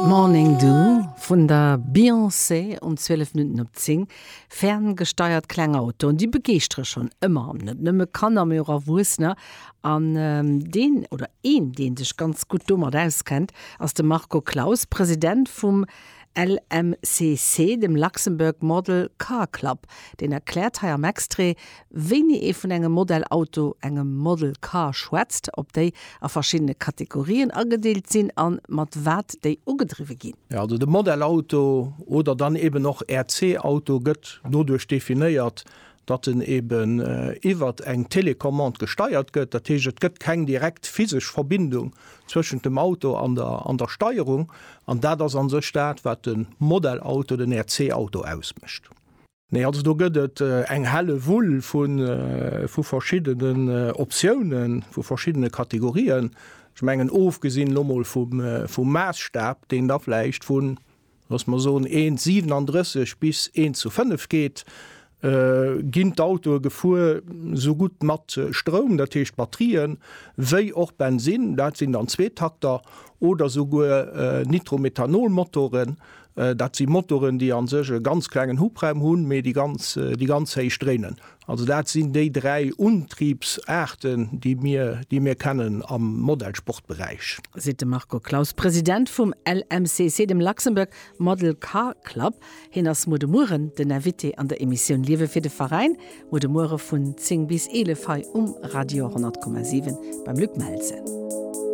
Morning Dew vun der Beyoncé um 12 Minutten op 10. Ferngesteiert kleng Autoen, déi begeeschtere schonn ëmmer, net nëmme Kanner, mee och Erwuessener. An deen oder een, dee sech ganz gutt domat auskennt, ass de Marco Claus, President vum LMCC, dem Luxembourg Model Car Club. Deen erkläert hei am Extrait, wéini ee vun engem Modellauto, engem Model Car, schwätzt, ob déi a verschiddene Kategorien agedeelt sinn a mat wat déi ugedriwwe ginn. Jo, also de Modellauto oder dann eben och RC-Auto gëtt doduerch definéiert, datt en eben iwwert eng Télécommande gesteiert gëtt. Dat heescht, et gëtt keng direkt physesch Verbindung zwëschent dem Auto an der an der Steierung. An dat ass a sech dat, wat de Modellauto, den RC-Auto ausmécht. Nee, also do gëtt et eng helle Wull vu verschiddenen Optiounen, vu verschiddene Kategorien. Ech mengen, ofgesinn elo mol vum Maassstab, deen da vläicht vun, loosse mer soen, 1,37 bis 1 zu 5 geet, ginn d'Autoe gefuer, esou gutt mat Stroum, dat heescht Batterien, wéi och Bensinn, dat sinn dann Zweetakter, oder souguer Nitromethanol-Motoren. Dat si Motoren, déi a sech e ganz klengen Hubraum hunn, mee déi ganz, déi ganz héich dréinen. Also dat sinn déi 3 Untriebsaarten, déi mir, déi mir kennen am Modellsportberäich. Seet de Marco Claus, President vum LMCC, dem Luxembourg Model Car Club. Hien ass muer de Mueren den Invité an der Emissioun Liewe fir de Veräin, muer de Muere vun 10 bis 11 hei um Radio 100,7 beim Luc Melsen.